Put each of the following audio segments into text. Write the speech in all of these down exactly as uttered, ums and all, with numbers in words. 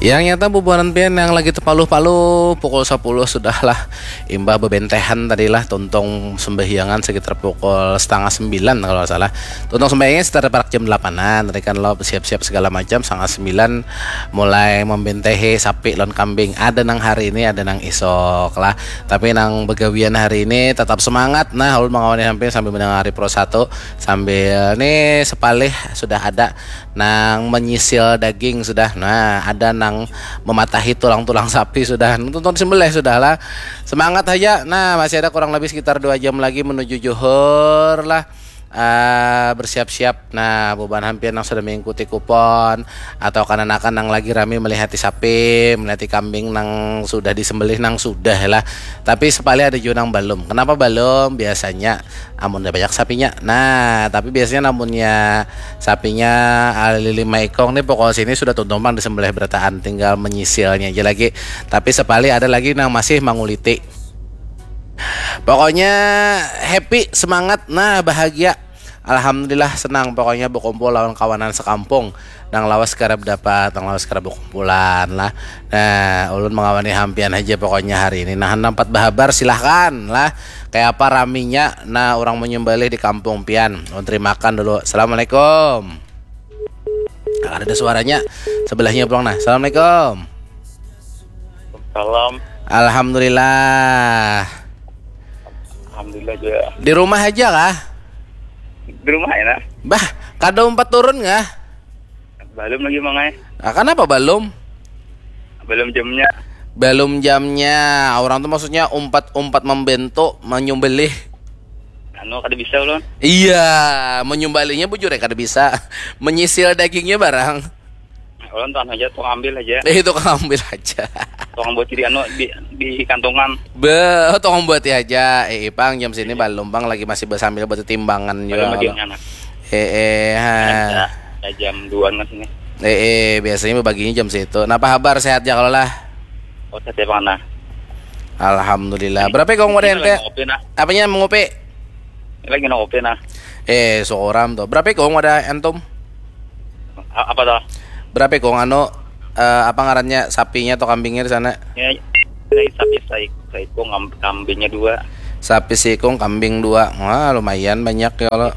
Yang nyata bubuhan pian yang lagi tepaluh-paluh, pukul sepuluh sudah lah. Imbah bebentehan tadi lah, tuntung sembahyangan sekitar pukul setengah sembilan kalau nggak salah. Tuntung sembahyangan sekitar parak jam delapanan. Tadi kan lo siap-siap segala macam, setengah sembilan mulai membentehi sapi lawan kambing. Ada nang hari ini, ada nang isok lah. Tapi nang begawian hari ini tetap semangat. Nah, ulun mengawani sampai sambil mendengar Pro satu, sambil nih sepalih sudah ada nang menyisil daging sudah. Nah, ada nang mematahi tulang-tulang sapi sudah. Nonton sembelih sudah lah. Semangat aja. Nah, masih ada kurang lebih sekitar dua jam lagi menuju juhur lah. Ah, bersiap-siap. Nah, bubuhan hampian yang sudah mengikuti kupon atau kananakan yang lagi rame melihati sapi, melihati kambing nang sudah disembelih, nang sudah lah. Tapi sepalih ada juga nang belum. Kenapa belum? Biasanya amunnya banyak sapinya. Nah, tapi biasanya namunnya sapinya, ah, lima ikong nih, pokok sini sudah tuntung pang disembelih berataan, tinggal menyisilnya aja lagi. Tapi sepalih ada lagi nang masih manguliti. Pokoknya happy, semangat, nah, bahagia. Alhamdulillah, senang pokoknya berkumpul lawan kawanan sekampung. Nang lawas karab dapat, nang lawas karab berkumpulan lah. Nah, ulun mengawani hampian aja pokoknya hari ini. Nah, nampat bahabar, silahkan lah. Kayak apa raminya? Nah, orang menyembelih di kampung pian. Ulun terimakan dulu. Assalamualaikum. Ada, ada suaranya. Sebelahnya pulang nah. Assalamualaikum. Salam. Alhamdulillah. Alhamdulillah juga. Di rumah aja kah? Di rumah ya, nah? Bah, kada umpat turun kah? Belum lagi, Mang, eh. Ah, kenapa belum? Belum jamnya. Belum jamnya. Orang tuh maksudnya umpat-umpat membentuk, menyembelih. Anu, kada bisa ulun. Iya, menyembelihnya bujur ya kada bisa. Menyisil dagingnya barang. Ulun tuh anu aja, tuh ambil aja. Eh, itu kan ambil aja. Tuh buat diri anu di, di kantongan. Be, tolong buat aja. Eh, Ipang jam sini belum pang, lagi masih bersambil buat timbangan juga. Belum lagi Kalau anak. Eh, eh, ha. Ya, ya, jam duaan kan sini. Eh, eh, biasanya baginya jam situ. Napa habar, sehat ya kalau lah? Oh, saya mana? Alhamdulillah. Berapa ikung wadah Ini lagi ente? Ngopi, nah. Apanya mengopi? Ini lagi ngopi, nah. Eh, seorang tuh. Berapa ikung wadah antum? A- apa tuh? Berapa ikung anu, eh, apa ngarannya, sapinya atau kambingnya di sana? Ya, dari sapi saik, saikung, kam- kambingnya dua. Sapi seikung, kambing dua. Wah, lumayan banyak ya kalau.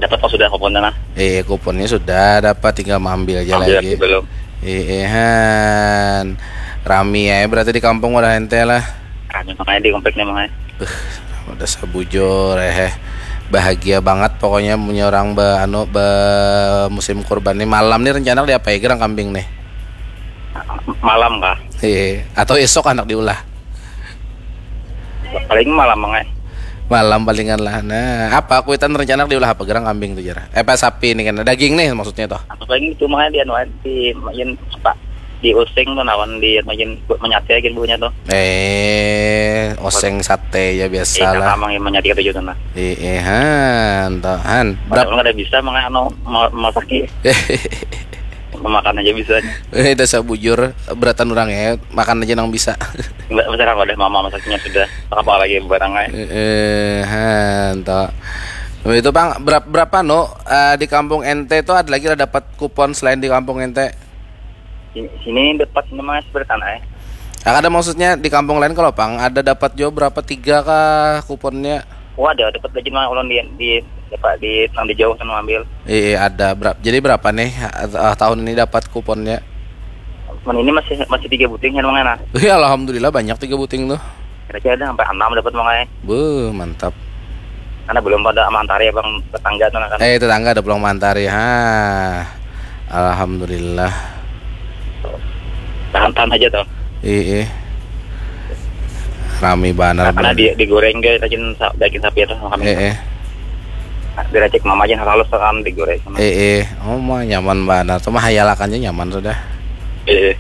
Dapat kok sudah kuponnya, nah. Eh, kuponnya sudah dapat, tinggal mengambil aja Ambil lagi. Belum. Eh, eh, han. Rami ya berarti di kampung wadah ente lah. Kami makanya di kompleknya, makanya. Udah sabujur eh. Bahagia banget pokoknya punya orang be anu be musim kurban nih. Malam nih rencana diapai gerang kambing nih? Malam kah? Iya, atau esok anak diulah? Paling malam, makanya. Malam palingan lah. Nah, apa kuitan rencana diulah apa gerang kambing tuh, jar? Eh, apa sapi nih kan? Daging nih maksudnya toh. Apa paling itu, makanya di anu, di main apa? Di using tuh, nawan di main buat menyate aja buahnya tuh. Eh, oseng sate ya biasa Iya, lah. Sama yang menyate kata juga, nah. Eh, eh, han, toh, han. Berapa Berapa? Ada bisa, makanya anu, ma- masak ya. Memakan aja bisa. Eh, dasar bujur, beratan orang ya, makan aja nang bisa. Enggak, sekarang udah mama masaknya sudah. Apa lagi barangnya? Eh, eh, han, toh. Itu pang berapa, berapa no, eh, di kampung ente tuh ada lagi lah dapat kupon selain di kampung ente? Sini, sini dapat nama seberatan, eh. Ah, ada maksudnya di kampung lain kalau pang ada dapat juga berapa, tiga kah kuponnya? Wah, ada dapat gaji mah ulun di di apa di nang di jauh sana ambil. Iya, ada berapa? Jadi berapa nih, eh, tahun ini dapat kuponnya? Men ini masih masih tiga buting kan, makanya, nah. Iya, alhamdulillah banyak tiga buting tuh. Kira-kira ada sampai enam dapat, makanya. Beuh, mantap. Karena belum pada mantari abang tetangga tuh, nah, kan. Eh, tetangga ada pulang mantari. Ha. Alhamdulillah. Tahan-tahan aja tuh. Iya. Rami banar. Karena Benar. Di, digoreng guys, daging sa- daging sapi itu sama kami. Eh, eh. Diracik mama aja halus kan digoreng sama. Eh, eh. Oh, mah nyaman banar. Tuh mah hayalakannya nyaman sudah. Eh,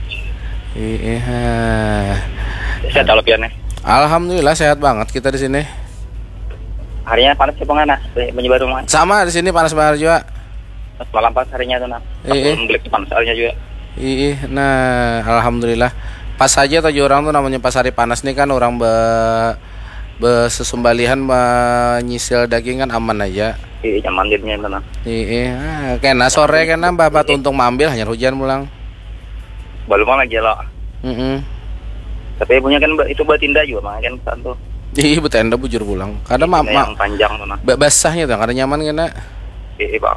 Eh, eh, ha. Sehat kalau piannya. Alhamdulillah sehat banget kita di sini. Harinya panas sih, pengen, nah, di Banyu Baru, mah. Sama di sini panas banget juga. Pas malam pas harinya tuh, nah. Pas Iya. Belum gelap panas harinya juga. Iya, nah, alhamdulillah. Pas aja tuh orang tuh namanya pas hari panas nih kan orang be besesumbalihan menyisil daging kan aman aja. Iya, nyaman jadinya itu, nah. Iya, ah, kena sore kena bapak tuntung mambil hanya hujan pulang. Balum lagi lo. Mm-mm. Tapi punya kan itu buat tinda juga mah kan satu. Iya, buat tinda bujur pulang. Karena ma, ma, yang panjang tuh nah. Basahnya tuh, karena nyaman kena. Iya, Pak.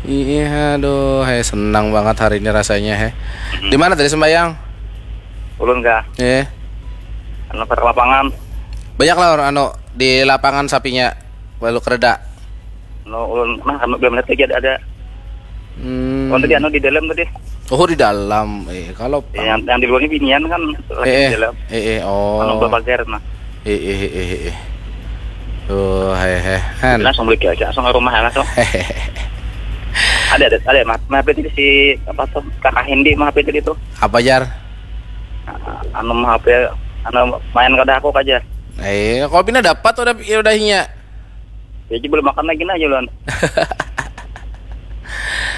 Iya, aduh, hei, senang banget hari ini rasanya, hei. Mm-hmm. Di mana tadi sembayang? Ulun kah? Iya. Anu, pada lapangan. Banyak lah orang anu di lapangan sapinya, lalu kereda. Anu, ulun nah, anu, belum lihat lagi ada, ada. Hmm. Oh, tadi anu di dalam tadi. Oh, di dalam. Eh, kalau ya, yang, yang di luar ini binian kan lagi eh, di dalam. Eh, eh, oh. Anu, bapagar nah. Eh, eh, eh, eh. Tuh, hei, hei. Han. Langsung balik aja, langsung ke rumah langsung. Ada, ada, ada, mah, mah, itu si apa tuh, kakak Hendi mah, itu tuh. Apa, jar? Anu mah apa ya? Anu main kada aku aja. Eh, kalau pina dapat udah, ya udah hinya. Ya, belum makan lagi nah, Julan.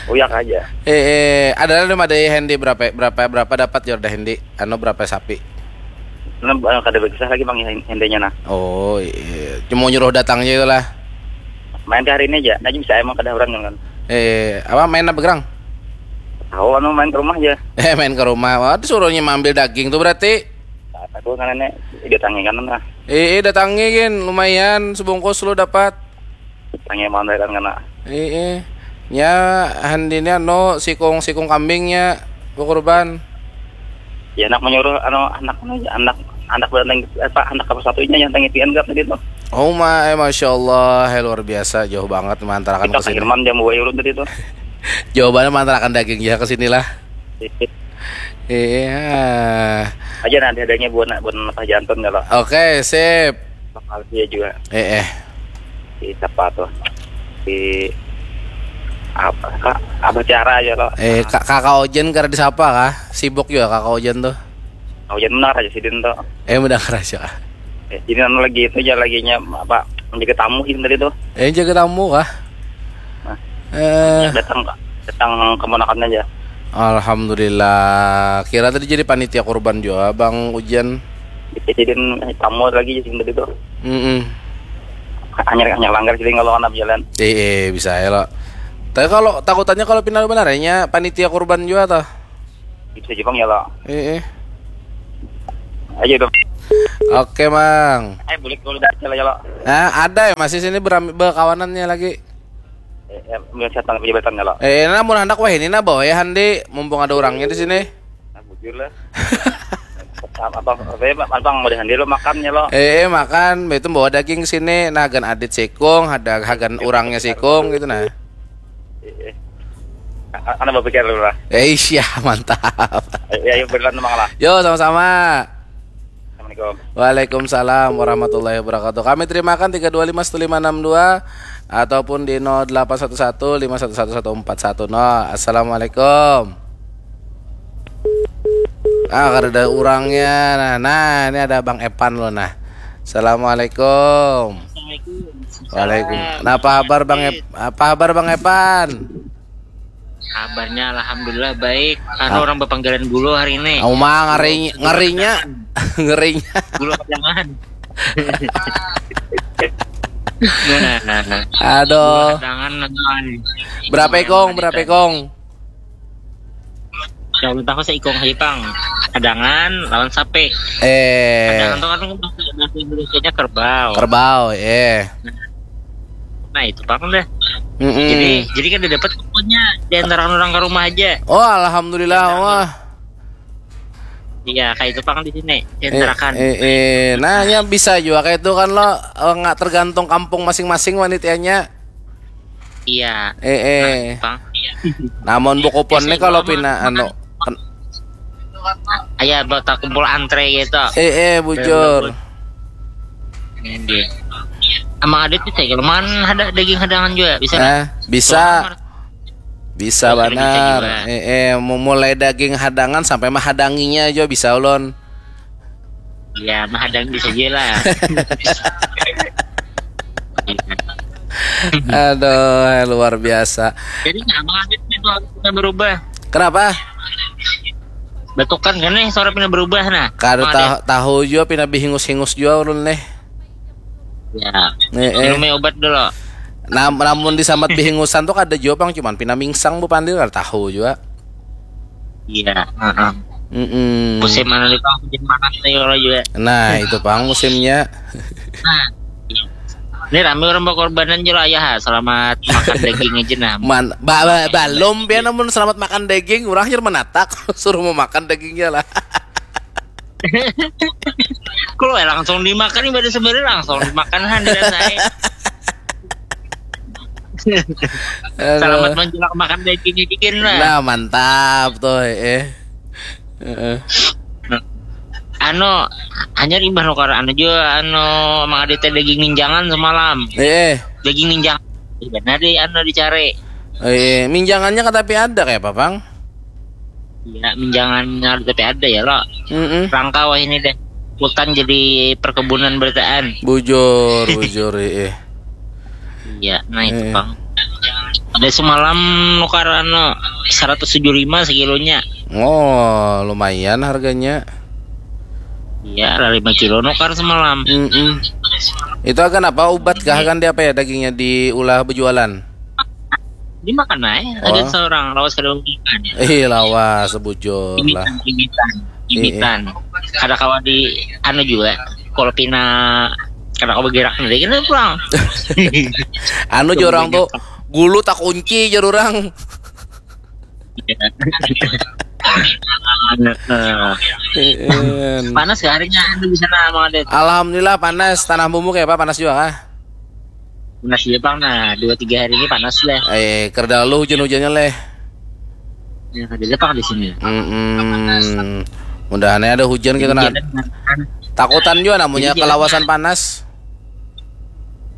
Uyak aja. Eh, eh, ada lah ada Hendi berapa, berapa, berapa dapat ya udah Hendi? Anu berapa sapi? Nah, kada berkisah lagi, Bang, Hendinya nah. Oh, iya. Cuma nyuruh datang aja itulah. Main ke hari ini aja. Nah, bisa emang kada orang kan. Eh, apa main apa gerang? Tahu anu main ke rumah aja. Eh, main ke rumah. Wah, disuruhnya ambil daging tuh berarti. Aku kan ini datangi kan nah. Eh, eh, datangi gin, lumayan sebungkus lu dapat. Tangi mau kan kena. Eh, eh. Nya handini anu sikung-sikung kambingnya kurban. Ya anak menyuruh anu anak anak anak apa anak apa satunya yang tangi pian gap tadi tuh. Oh my, masya Allah, eh, luar biasa, jauh banget mantarakan ke sini. Irman jam dua ulun tadi tuh. Jawabannya mantarakan daging ya ke sinilah. Iya. Aja nanti adanya buat buat apa jantan kalau. Oke, sip. Bakal dia juga. Eh, eh. Di siapa tuh? Di apa? Kak, apa cara aja lo? Eh, kak, kakak Ojen kada disapa kah? Sibuk juga kakak Ojen tuh. Kakak Ojen benar aja sidin tuh. Eh, benar aja. Eh, ini anu lagi itu aja laginya apa? Menjaga tamu ini tadi tuh. Eh, jaga tamu kah? Nah, eh. Datang datang keponakan aja. Alhamdulillah. Kira tadi jadi panitia kurban juga, Bang Ujian. Jadi tamu lagi jadi tadi tuh. Mm-mm. Hanya hanya langgar jadi kalau anak jalan. Eh, eh, bisa ya lo. Tapi kalau takutannya kalau pindah benarnya panitia kurban juga toh. Bisa Jepang ya lo. Eh, eh. Aja dong. Oke, Mang. Eh, boleh kalau udah ya lo. Nah, ada ya masih sini beram- berkawanannya lagi. Eh, eh, melihat setan pejabatannya lo. Eh, nah, mun handak wah ini nah bawa ya Handi, mumpung ada orangnya di sini. Nah, bujur lah. Apa apa apa ya, Bang, udah Handi lo makan ya lo. Eh, eh, makan, itu bawa daging sini, nah hagan adit sikung, ada hagan orangnya sikung gitu nah. Eh, eh. A- Anak berpikir dulu lah. Eh, iya, mantap. Eh, ya, yuk berlan memang lah. Yo, sama-sama. Assalamualaikum. Waalaikumsalam warahmatullahi wabarakatuh. Kami terimakan tiga dua lima satu lima enam dua ataupun di nol delapan satu satu lima satu satu satu empat satu nol. Assalamualaikum. Ah, kada ada orangnya. Nah, nah, ini ada Bang Epan lo nah. Assalamualaikum. Assalamualaikum. Waalaikum. Nah, apa habar Bang Ep- apa habar Bang Epan? Kabarnya alhamdulillah baik. Anu ah. Orang bapanggalan gulu hari ini. Uma ngeri ngerinya. Ngerinya. Gulu kadangan. Nah, nah, nah. Aduh. Gulu kadangan nah. Berapa ikong? Berapa ikong? Kalau tahu seikong haja pang. Kadangan lawan sapi. Eh. Kadangan tuh kan bahasa Indonesianya kerbau. Kerbau, eh. Nah, itu pang deh. Mm-mm. Jadi jadi kan dapat pokoknya di antara orang ke rumah aja. Oh, alhamdulillah Allah. Iya, kayak itu pang di sini. Eh, eh, eh. Nah, ya bisa juga kayak itu kan lo eh, nggak tergantung kampung masing-masing wanitanya. Iya. Eh, eh. Nah, pang. Iya. Namun buku pon nih kalau pina anu Aya bakal kumpul antre gitu. Eh, eh, bujur. Emang ada tuh kayak kelemahan ada daging hadangan juga bisa. Eh, bisa. Bisa benar. Eh, eh, memulai daging hadangan sampai menghadanginya juga bisa ulun. Iya, menghadang bisa aja lah. Aduh, luar biasa. Jadi nggak mau itu berubah. Kenapa? Batukan kan nih suara pina berubah nah. Kada tahu, tahu juga pina bihingus-hingus juga ulun nih. Ya. Nih, eh. Minum obat dulu. Nah, namun disambat bihingusan tuh kada juga pang cuman pina mingsang bu pandir kada tahu juga. Iya, heeh. Mm-mm. Musim anu ni pang, musim panas nih kalau juga. Nah, itu pang musimnya. Nah, ini rame orang berkorbanan juga ya. Selamat makan daging aja nah. Man, ba, ba, balum ya namun selamat makan daging, orang hanya menatak suruh mau makan dagingnya lah. Kalau ya langsung dimakan ibadah sebenarnya langsung dimakan han dan saya. Aduh. Selamat menjelang makan daging chicken lah. Nah, mantap tuh eh. Heeh. Anu, hanya imbah nukar anu juga anu Mang Adit teh daging minjangan semalam. Eh, Daging minjang. Ih, benar deh anu dicari. Eh, minjangannya kata tapi ada kayak apa, Bang? Ya, minjangannya tapi ada ya lo. Mm-mm. Rangka wah ini deh. Hutan jadi perkebunan berataan. Bujur, bujur, eh. Iya, nah itu Eh. Bang. Ada semalam nukar anu seratus tujuh lima sekilonya. Oh, lumayan harganya. Iya, lah lima kilo nukar semalam. Mm-mm. Itu akan apa? Ubat kah kan dia apa ya dagingnya diulah berjualan? Dimakan aja. Oh. Ada seorang lawas kada makan ya. Eh, lawas sebujur lah. Imitan, imitan, imitan. Kada kawa di anu juga. Kalau pina kada kawa bergerak nanti kena pulang. Anu jua orang tuh gulu tak kunci jar orang. Nah, Heeh. panas ya harinya anu di sana Mang Adit. Alhamdulillah panas. Tanah Bumbu kayak apa, panas juga kah? Panas juga Bang, nah dua tiga hari ini panas lah. Eh, kerdalu hujan-hujannya leh. Ya, ada Bang di sini. Mm-mm. Mudahannya ada hujan kita nah. Takutan juga namanya Iya. kalawasan panas.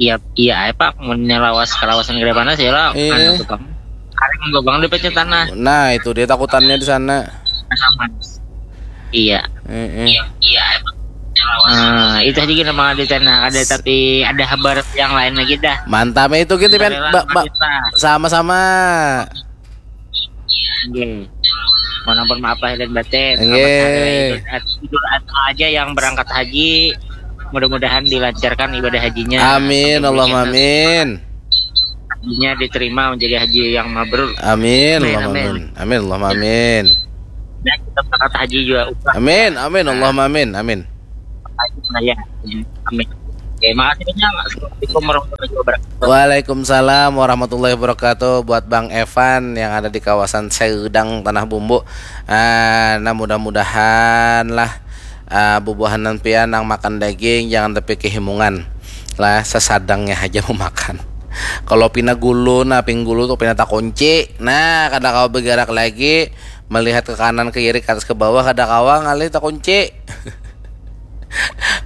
Iya, iya, aja Pak, munnya lawas kalawasan gede panas ya lah. Iya. Anu tuh Bang. Hari minggu Bang dapatnya tanah. Nah, itu dia takutannya di sana. Aman. Iya. Heeh. Nah, itu aja gini Mang Adit nah. Ada tapi ada kabar yang lain lagi dah. Mantap itu gitu kan. Rela Ba- ba- kita. sama-sama. Nggih. Mohon ampun maaf lahir dan batin. Nggih. Selamat hari raya Idul Ad- Idul Adha aja yang berangkat haji. Mudah-mudahan dilancarkan ibadah hajinya. Amin, Sampai Allahumma puncak amin. Hajinya diterima menjadi haji yang mabrur. Amin, Amin, Allahumma amin. Amin, Allahumma amin. Dan kita berangkat haji juga umrah. Amin, amin, Allahumma amin, amin. Haji raya. Amin. Oke, makasih banyak. Assalamualaikum warahmatullahi wabarakatuh. Waalaikumsalam warahmatullahi wabarakatuh buat Bang Evan yang ada di kawasan Seudang Tanah Bumbu. Ah, nah mudah-mudahan lah ah, bubuhanan pian nang makan daging jangan tapi kehimungan lah sesadangnya aja mau makan. Kalau pina gulu nah ping gulu tuh pina takunci. Nah kada kawa bergerak lagi melihat ke kanan ke kiri ke atas ke bawah kada kawa ngalih takunci.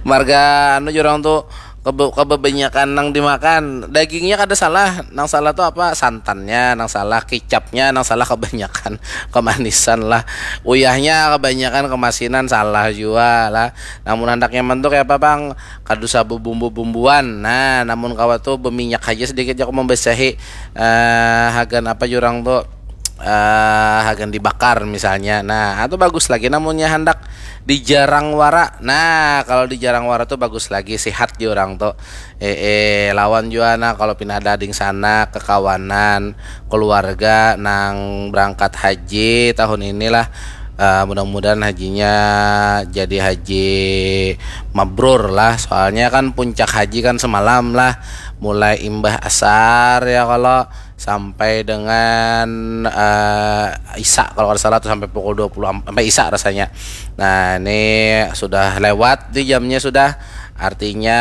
Marga anu jurang tuh kebe kebanyakan nang dimakan dagingnya kada salah nang salah tuh apa santannya nang salah kicapnya nang salah kebanyakan kemanisan lah uyahnya kebanyakan kemasinan salah jua lah namun handak nyaman tuh kayak apa bang kada usah bebumbu-bumbuan nah namun kawa tuh beminyak aja sedikit jaku membasahi eh, hagan apa jurang tuh eh, hagan dibakar misalnya nah atau bagus lagi namunnya handak di jarang wara nah kalau di jarang wara tuh bagus lagi sehat di orang tuh eh, eh lawan jua nah kalau pina ada ding sana kekawanan keluarga nang berangkat haji tahun inilah uh, mudah-mudahan hajinya jadi haji mabrur lah soalnya kan puncak haji kan semalam lah mulai imbah asar ya kalau sampai dengan uh, isa kalau tidak salah tuh sampai pukul dua puluh sampai isa rasanya. Nah, ini sudah lewat di jamnya sudah. Artinya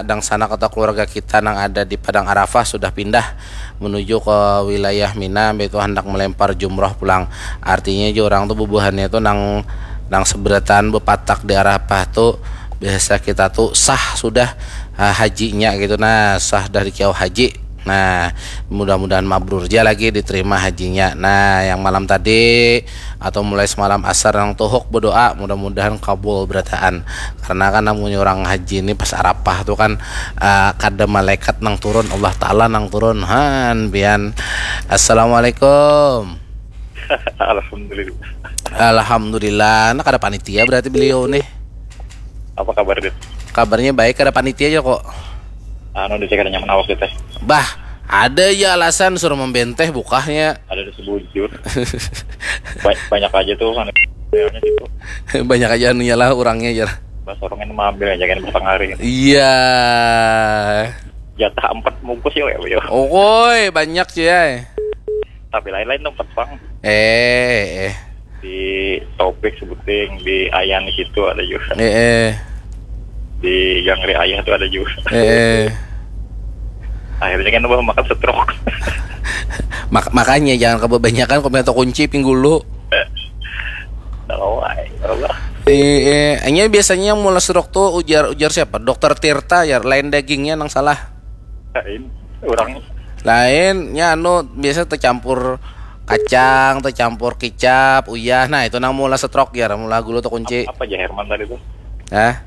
dangsana kota keluarga kita yang ada di Padang Arafah sudah pindah menuju ke wilayah Mina itu hendak melempar jumroh pulang. Artinya juga orang tuh bubuhannya itu nang nang seberatan bepatak di Arafah tuh biasa kita tuh sah sudah uh, hajinya gitu nah sah dari kiau haji Nah, mudah-mudahan mabrur aja lagi diterima hajinya. Nah, yang malam tadi atau mulai semalam asar yang tuhuk berdoa mudah-mudahan kabul berataan. Karena kan namanya orang haji ini pas Arafah tuh kan uh, kada malaikat nang turun, Allah Taala nang turun. Han, pian. Assalamualaikum. Alhamdulillah. Alhamdulillah. Nah, kada panitia berarti beliau nih. Apa kabar Dit? Kabarnya baik, kada panitia aja kok. Anu di cekadnya menawak kita. Bah, Ada aja alasan suruh membenteh bukahnya. Ada di sebujur. Ba- banyak aja tuh kan. Realnya gitu. Banyak aja anunya lah orangnya, jar. Pas orangnya mau ambil aja kan, batang hari. Iya. Jatah empat bungkus ya, ya. Okoi, banyak, cuy, ay. Tapi lain-lain tempat, Bang. Eh, eh. Di Taufik sebuting, di Ayan di situ ada juga. Eh, eh. Di Gangri Ayah tuh ada juga. Eh, eh. Akhirnya kan, bah, makan setrok. Mak- makanya jangan kebanyakan, kau minta kunci pinggulu. Tahu, ay, Allah. Eh, eh, hanya biasanya yang mula stroke tuh ujar, ujar siapa? Dokter Tirta, ya, lain dagingnya nang salah. Lain, orang. Lainnya anu biasa tercampur kacang, tercampur kicap, uyah. Nah, itu nang mula stroke, ya, mula gulu terkunci. Apa aja Herman tadi tuh? Hah?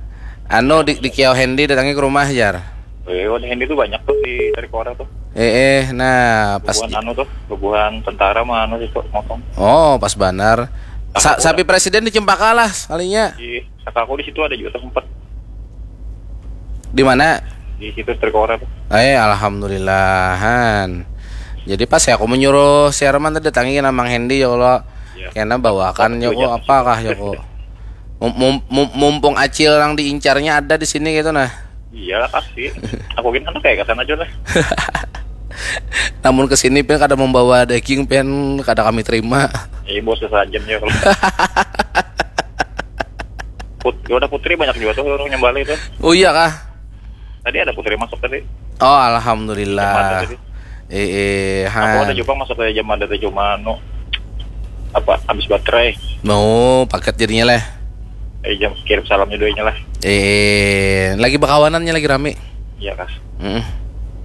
Anu di, di Kiau Hendy, datangi ke rumah, jar. Eh, oh, Hendy tuh banyak tuh di Trikora tuh. Eh, eh, nah, pas bubuhan di- anu tuh, bubuhan tentara mah anu situ motong. Oh, pas banar. Sa- sapi presiden di Cempaka lah sekalinya. Di Saka aku di situ ada juga tuh sempat. Di mana? Di situ Trikora tuh. Eh, alhamdulillahan. Jadi pas ya aku menyuruh si Herman tadi datangi nang Mang Hendy, ya Allah. Ya. Kena bawakan, ya kok, apakah, ya kok? Mum- mum- mum- mumpung acil yang diincarnya ada di sini gitu, nah. Iyalah, pasti. Aku gini anak kayak kesana aja lah. Namun kesini pen kada membawa daging, pen kada kami terima. Iya, bos, saja ya kalau. Put- ya udah, Putri banyak juga tuh orang nyembali tuh. Oh iya kah? Tadi ada Putri masuk tadi. Oh, alhamdulillah. Jam ada tadi. Eh, eh, aku ada juga masuk ke jam ada teh, cuma anu, apa, habis baterai. No, paket jadinya lah. Eh, jam kirim salamnya doanya lah. Eh, lagi berkawanannya lagi rame. Iya kah? Mm.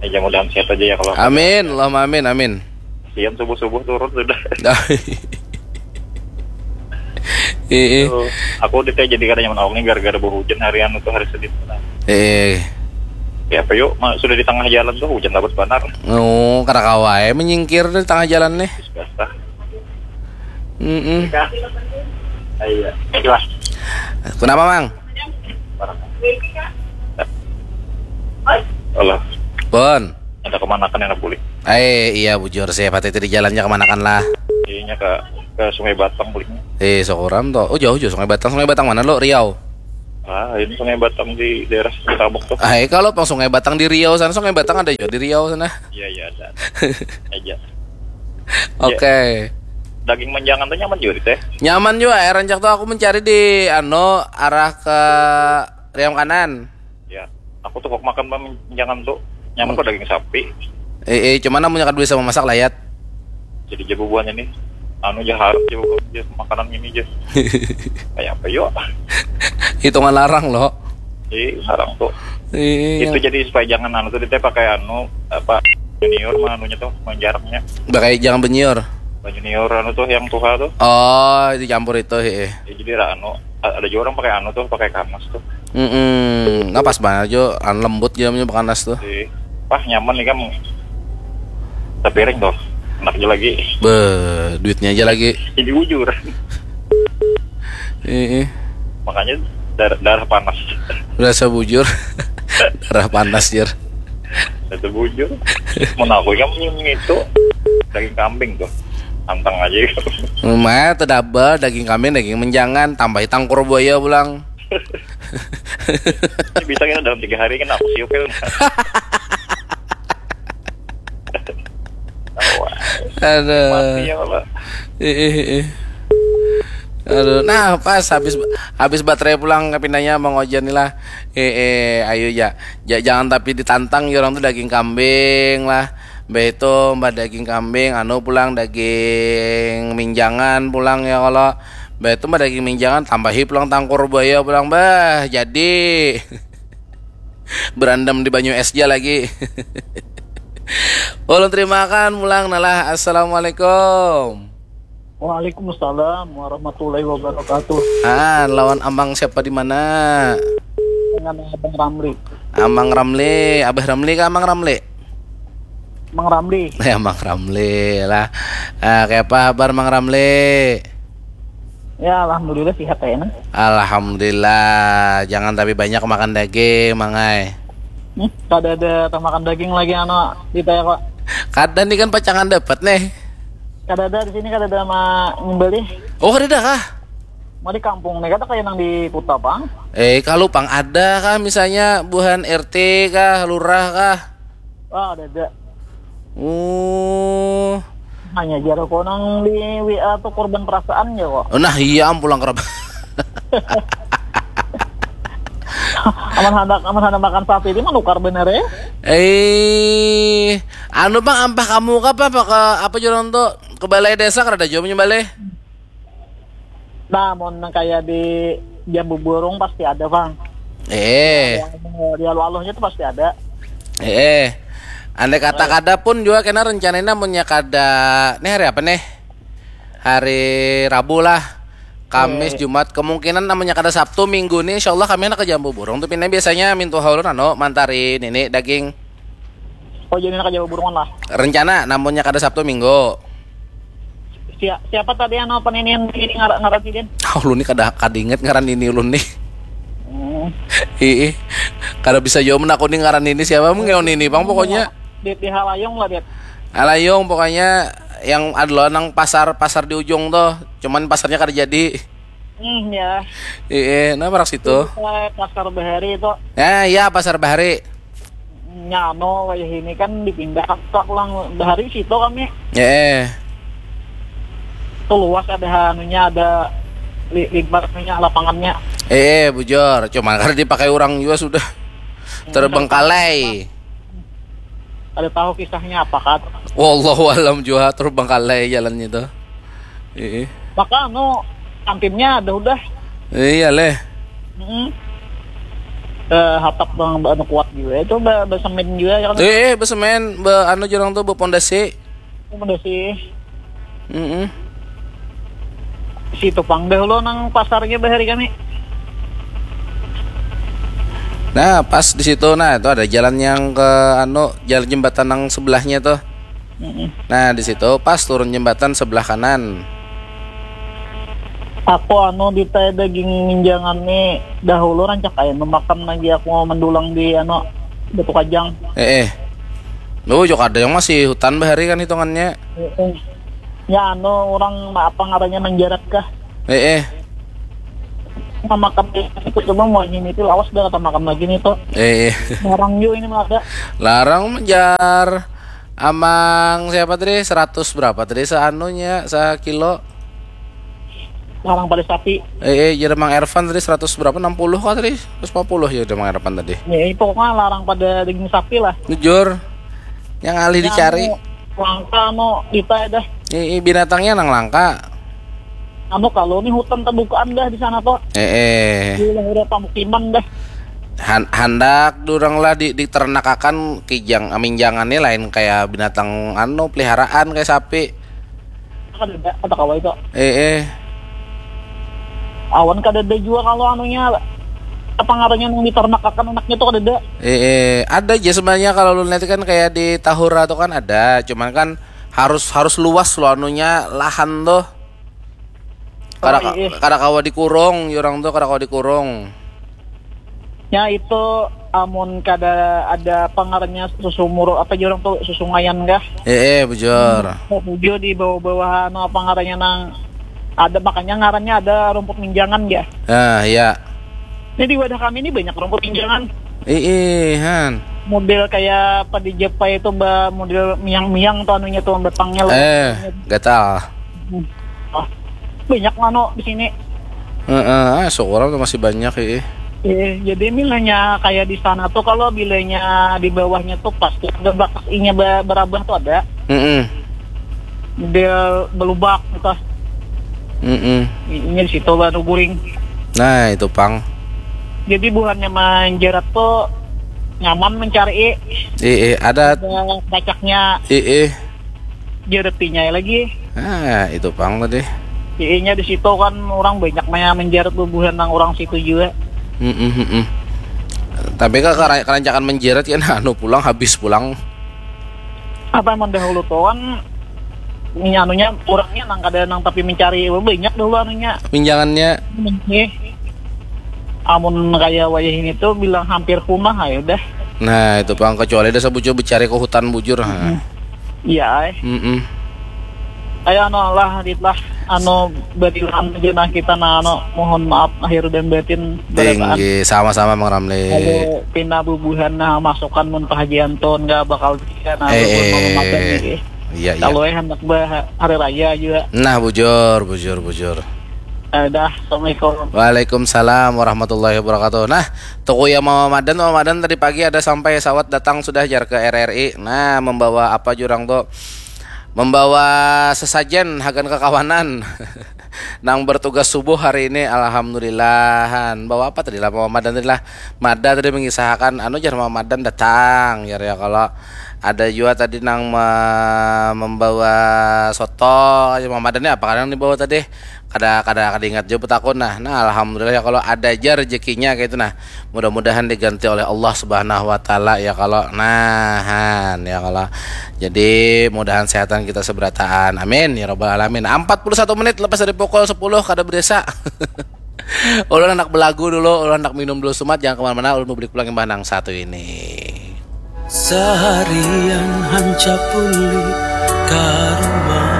Eh, jam mudahan sehat aja ya kalau. Amin, Allahumma amin, amin. Siang subuh-subuh turun sudah. Iya. Tuh, aku udah teh jadi kada nyaman awak nih gara-gara hujan hari anu tuh, hari Senin. Nah. Eh. Ya apa yuk, ma- sudah di tengah jalan tuh hujan lebat banar. Oh, kada kawa ya menyingkir di tengah jalan nih. Terus basah. Mm-mm. Iya. Itulah. Kenapa, Mang? Allah. Pun. Ada kemanakan yang boleh. Eh, iya, bujur sih, pati itu di jalannya kemanakan lah. Iyanya ke ke Sungai Batang paling. Eh, syukuran toh. Oh, jauh jauh Sungai Batang. Sungai Batang mana lo? Riau. Ah, ini Sungai Batang di daerah Tabok tuh. Ah, eh, kalau pang Sungai Batang di Riau sana, Sungai Batang ada juga di Riau sana. Iya, iya, ada. Aja. Oke. Daging menjangan tuh nyaman juga teh. Nyaman juga, eh, rancak tuh aku mencari di ano arah ke Riam kanan. Ya, aku tuh kok makan menjangan tuh nyaman kok daging sapi. Eh, eh, cuman amunnya kada bisa memasak layat. Jadi jabu buahnya nih, anu ja harap jabu buah ja makanan ini ja. Kayak apa yuk? Hitungan larang loh. Ih, larang tuh. Iya. Itu jadi supaya jangan anu tuh, dia pakai anu apa, junior mah anunya tuh, menjaraknya. Pakai jangan benyiur. Junior anu tuh yang tuha tuh. Oh, itu campur itu, heeh. Ya, jadi ra anu, a- ada juga orang pakai anu tuh, pakai kanas tuh. Mm-mm. Nah, pas banget jo, anu lembut jamnya panas tuh. Jadi, wah, nyaman nih kamu. Tapi ring tuh, enak aja lagi. Be, duitnya aja lagi. Jadi bujur. Heeh. Makanya darah, darah panas. Rasa bujur. Darah panas, jer. Itu bujur. Mau aku kan itu daging kambing tuh. Tantang aja gitu. Rumah tuh double, daging kambing, daging menjangan, tambahi tangkur buaya pulang. Ini bisa kita dalam tiga hari kan aku siupil. Aduh. Mati ya Allah. Ih, ih, ih. Aduh, nah pas habis habis baterai pulang kepinanya Mang Ojan nih lah. Eh, eh, ayo ya. Ja- jangan tapi ditantang ya orang tuh daging kambing lah. Mbah itu mbah daging kambing, anu pulang daging minjangan pulang ya kalau. Mbah itu mbah daging minjangan tambahi pulang tangkur buaya pulang, bah. Jadi berendam di banyu es ja lagi. Ulun terimakan pulang nalah. Assalamualaikum. Waalaikumsalam warahmatullahi wabarakatuh. Ah, lawan Amang siapa di mana? Dengan Abang Ramli. Amang Ramli, Abah Ramli kah Amang Ramli? Mang Ramli. Ya, Mang Ramli lah. Ah, kayak apa kabar Mang Ramli? Ya, alhamdulillah sehat ya, nah. Alhamdulillah. Jangan tapi banyak makan daging, Mang ai. Hmm, kada ada tamakan daging lagi anu di taya kok. Kada nih kan pacangan dapat nih. Kada ada di sini, kada ada ma nyembelih. Oh, kada ada kah? Mau di kampung nih, kada kayak nang di kota pang. Eh, kalau pang ada kah misalnya buhan R T kah, lurah kah? Wah, ada ada. Oh, Hanya jar aku nang di W A tuh korban perasaan ya kok. Nah iya am pulang kerap. Aman hendak aman hendak makan sapi ini menukar bener ya. Eh, anu pang ampah kamu ke apa apa ke apa jualan tuh ke balai desa kada jauh balai. Nah, mau nang kayak di Jambu Burung pasti ada bang. Eh, Di aluh-aluhnya tuh pasti ada. eh, andai kata kada pun juga kena rencananya munnya kada. Nih hari apa nih? Hari Rabu lah. Kamis, Jumat, kemungkinan namanya kada Sabtu, Minggu nih, insya Allah kami anak ke Jambu Burung tuh pindah biasanya mintu haulun anu mantari nini daging. Oh, jadi nak Jambu Burung lah. Rencana, namunnya kada Sabtu, Minggu. Sia- siapa tadi yang apa ini ini ngaran sidin? Oh, ulun nih kada kada inget ngaran ini ulun nih. Hmm. Ih, kada bisa jawab aku nih ngaran ini siapa mungkin ini bang pokoknya. Di, di Halayung lah dia. Alayung pokoknya yang adalah nang pasar pasar di ujung tuh, cuman pasarnya kada jadi. Hmm, ya. Iya, nah parak situ. Eh, Pasar Bahari itu Ya, ya pasar Bahari. Nyano kayak ini kan dipindah ke pulang Bahari situ kami. Ya, eh. Tuh luas ada anunya, ada li- lebar anunya, lapangannya. Eh, eh, bujur. Cuman kada dipakai orang juga sudah. Terbengkalai. Ada tahu kisahnya apa kan? Wallahu alam juga terbengkalai jalannya tuh. Iya. Maka anu kantinnya ada udah. Iya leh. Hmm. Eh, hatap bang anu kuat juga itu ba- basemen juga ya kan. Eh, eh, besemen, be anu jorang tuh bepondasi. Udah sih. Mm-mm. Situ pang dahulu nang pasarnya bahari kami. Nah, pas di situ nah itu ada jalan yang ke anu, jalan jembatan yang sebelahnya tuh. Mm-mm. Nah, di situ pas turun jembatan sebelah kanan. Aku anu di teh daging minjangan nih dahulu rancak kayak memakan lagi aku mau mendulang di anu batu kajang. Eh, eh. Lu juga ada yang masih hutan bahari kan hitungannya. Mm-mm. Ya anu orang ma- apa ngarannya menjarat kah? Eh, eh. Memakan itu coba mau ini itu lawas dah kata makan lagi nih tuh. Eh, eh. Larang juga ini malah ada. Larang menjar. Amang siapa tadi? Seratus berapa tadi seanunya sekilo? Larang pada sapi. Eh, eh, jadi Mang Ervan tadi seratus berapa? Enam puluh kah tadi? Seratus lima puluh ya udah Mang Ervan tadi. Ya, ini pokoknya larang pada daging sapi lah. Jujur. Yang alih dicari. Anu, langka anu di teh dah. Eh, eh, binatangnya nang langka. Anu kalau nih hutan terbukaan dah di sana tuh. Eh, eh. Di daerah pemukiman dah. Han- handak durang lah di, diternakakan kijang minjangannya lain kayak binatang anu peliharaan kayak sapi. Kan ada kata kawa itu. Eh, eh. Awan kada ada juga kalau anunya apa ngarannya yang diternakakan anaknya tuh kada ada. Eh, eh, ada aja sebenarnya kalau lu lihat kan kayak di Tahura tuh kan ada, cuman kan harus harus luas lo anunya lahan tuh. Kada Oh, iya. Kada kawa dikurung, orang tuh kada kawa dikurung. Ya itu amun kada ada apa ngarannya susumur apa orang tuh susungayan kah? Eh, eh, bujur. Tujuh di bawah-bawah anu apa ngarannya nang ada makanya ngarannya ada rumput minjangan ya. Ah, ya. Ini di wadah kami ini banyak rumput minjangan. Ih, ih, han. Model kayak apa di Jepang itu ba model miang-miang tuh anunya tuh batangnya loh. Eh, gatal. Ah, banyak mano di sini. Heeh, ah, syukur tuh masih banyak ih. Eh, jadi bilanya kayak di sana tuh kalau bilanya di bawahnya tuh pasti ada bakas inya ba- berabah tuh ada. Heeh. Dia belubak gitu. Heeh. Inya di situ baru guring. Nah, itu pang. Jadi buhannya menjerat tuh nyaman mencari Ih, ih, ada ada kacaknya ih, ih. jeretinya lagi. Ah, itu pang tadi. Inya di situ kan orang banyak maya menjerat bubuhan nang orang situ juga. Heeh, heeh. Tapi kan kera- kerancakan menjerat kan anu pulang habis pulang. Apa emang dahulu tuh kan ini anunya kurangnya nang kada nang tapi mencari banyak dahulu anunya. Pinjangannya Eh, amun kaya wayah ini tuh bilang hampir punah ayo dah. Nah, itu pang kecuali ada sabucu becari ke hutan bujur. Ha. Iya, ay. Mm-mm. Ayo, anu lah, Dit lah. Anu, badilaan aja nah kita, nah, anu, mohon maaf lahir dan batin. Barataan. Tinggi, sama-sama, Mang Ramli. Kalau pina bubuhan, nah, masukan mun Pak Haji Anton, nggak bakal bisa, nah, eh, bubuhan eh, Mama Makan nih. Iya, iya. Kalau eh, hendak bah-, hari raya juga. Nah, bujur, bujur, bujur. Eh, dah, Assalamualaikum. Waalaikumsalam warahmatullahi wabarakatuh. Nah, tuku ya Mama Madan, Mama Madan tadi pagi ada sampai sawat datang sudah jar ke R R I. Nah, membawa apa jurang tuh? Membawa sesajen hagan kakawanan nang bertugas subuh hari ini, alhamdulillahan. Bawa apa tadi lah Mama Madan tadi lah? Mada tadi mengisahakan, anu jar Mama Madan datang, jar ya kalau ada juga tadi nang me-, membawa soto, jar Mama Madan ni apa kadang dibawa tadi? Kada, kada, kada ingat jua betakun nah. Nah, alhamdulillah ya kalau ada aja rezekinya kayak itu nah. Mudah-mudahan diganti oleh Allah Subhanahu wa Ta'ala ya kalau. Nah, han, ya kalau. Jadi, mudahan sehatan kita seberataan. Amin ya rabbal alamin. Empat puluh satu menit lepas dari pukul sepuluh kada berasa. Ulun anak belagu dulu, ulun anak minum dulu sumat, jangan kemana-mana, ulun mau beli pulang imbah nang satu ini. Seharian hancap pulih ka rumah.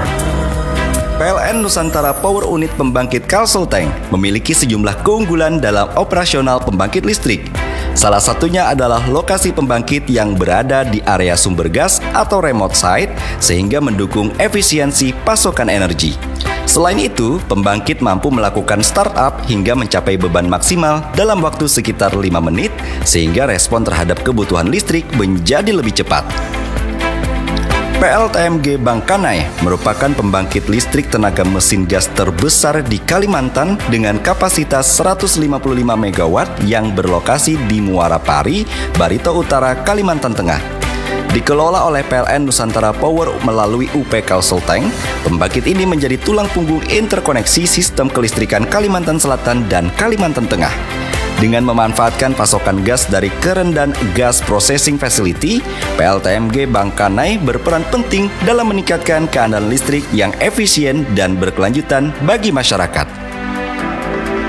P L N Nusantara Power Unit Pembangkit Kalsel Tank memiliki sejumlah keunggulan dalam operasional pembangkit listrik. Salah satunya adalah lokasi pembangkit yang berada di area sumber gas atau remote site, sehingga mendukung efisiensi pasokan energi. Selain itu, pembangkit mampu melakukan startup hingga mencapai beban maksimal dalam waktu sekitar lima menit, sehingga respon terhadap kebutuhan listrik menjadi lebih cepat. P L T M G Bangkanai merupakan pembangkit listrik tenaga mesin gas terbesar di Kalimantan dengan kapasitas seratus lima puluh lima megawatt yang berlokasi di Muara Pari, Barito Utara, Kalimantan Tengah. Dikelola oleh P L N Nusantara Power melalui U P Kalsel Tank, pembangkit ini menjadi tulang punggung interkoneksi sistem kelistrikan Kalimantan Selatan dan Kalimantan Tengah. Dengan memanfaatkan pasokan gas dari Kerendan Gas Processing Facility, P L T M G Bangkanai berperan penting dalam meningkatkan keandalan listrik yang efisien dan berkelanjutan bagi masyarakat.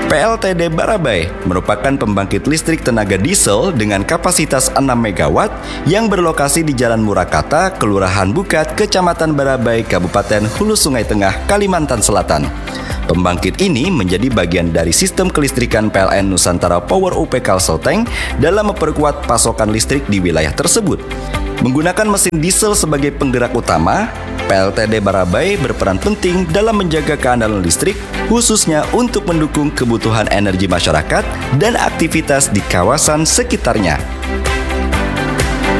P L T D Barabai merupakan pembangkit listrik tenaga diesel dengan kapasitas enam megawatt yang berlokasi di Jalan Murakata, Kelurahan Bukat, Kecamatan Barabai, Kabupaten Hulu Sungai Tengah, Kalimantan Selatan. Pembangkit ini menjadi bagian dari sistem kelistrikan P L N Nusantara Power U P Kalsel Tank dalam memperkuat pasokan listrik di wilayah tersebut. Menggunakan mesin diesel sebagai penggerak utama, P L T D Barabai berperan penting dalam menjaga keandalan listrik, khususnya untuk mendukung kebutuhan energi masyarakat dan aktivitas di kawasan sekitarnya.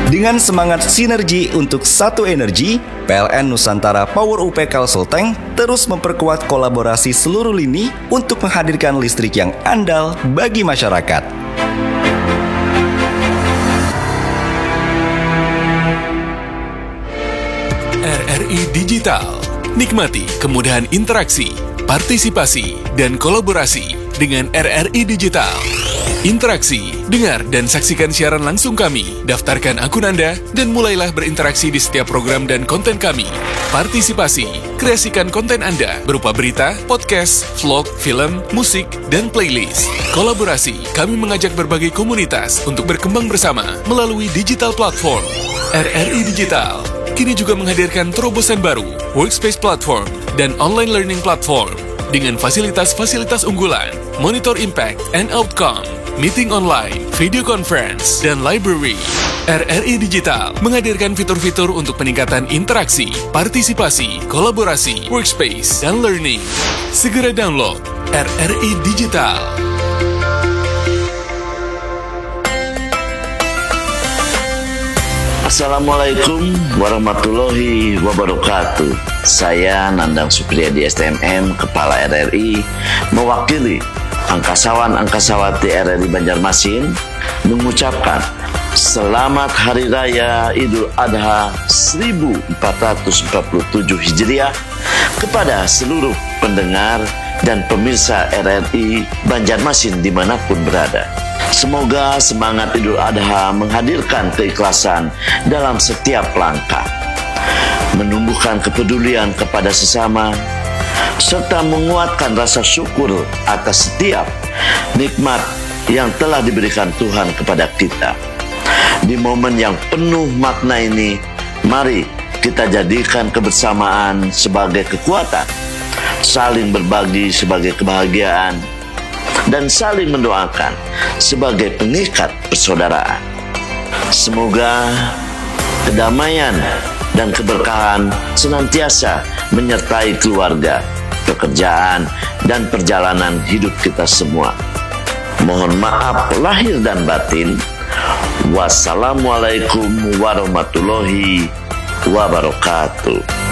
Dengan semangat sinergi untuk satu energi, P L N Nusantara Power U P Kalsel Tank terus memperkuat kolaborasi seluruh lini untuk menghadirkan listrik yang andal bagi masyarakat. R R I Digital. Nikmati kemudahan interaksi, partisipasi, dan kolaborasi dengan R R I Digital. Interaksi, dengar, dan saksikan siaran langsung kami. Daftarkan akun Anda dan mulailah berinteraksi di setiap program dan konten kami. Partisipasi, kreasikan konten Anda berupa berita, podcast, vlog, film, musik, dan playlist. Kolaborasi, kami mengajak berbagai komunitas untuk berkembang bersama melalui digital platform. R R I Digital kini juga menghadirkan terobosan baru, Workspace Platform, dan Online Learning Platform dengan fasilitas-fasilitas unggulan, monitor impact and outcome, meeting online, video conference, dan library. R R I Digital menghadirkan fitur-fitur untuk peningkatan interaksi, partisipasi, kolaborasi, workspace, dan learning. Segera download R R I Digital. Assalamualaikum warahmatullahi wabarakatuh. Saya Nandang Supriyadi S T M M, Kepala R R I, mewakili angkasawan angkasawati R R I Banjarmasin mengucapkan Selamat Hari Raya Idul Adha seribu empat ratus empat puluh tujuh Hijriah kepada seluruh pendengar dan pemirsa R R I Banjarmasin dimanapun berada. Semoga semangat Idul Adha menghadirkan keikhlasan dalam setiap langkah, menumbuhkan kepedulian kepada sesama, serta menguatkan rasa syukur atas setiap nikmat yang telah diberikan Tuhan kepada kita. Di momen yang penuh makna ini, mari kita jadikan kebersamaan sebagai kekuatan, saling berbagi sebagai kebahagiaan, dan saling mendoakan sebagai pengikat persaudaraan. Semoga kedamaian dan keberkahan senantiasa menyertai keluarga, pekerjaan, dan perjalanan hidup kita semua. Mohon maaf lahir dan batin. Wassalamualaikum warahmatullahi wabarakatuh.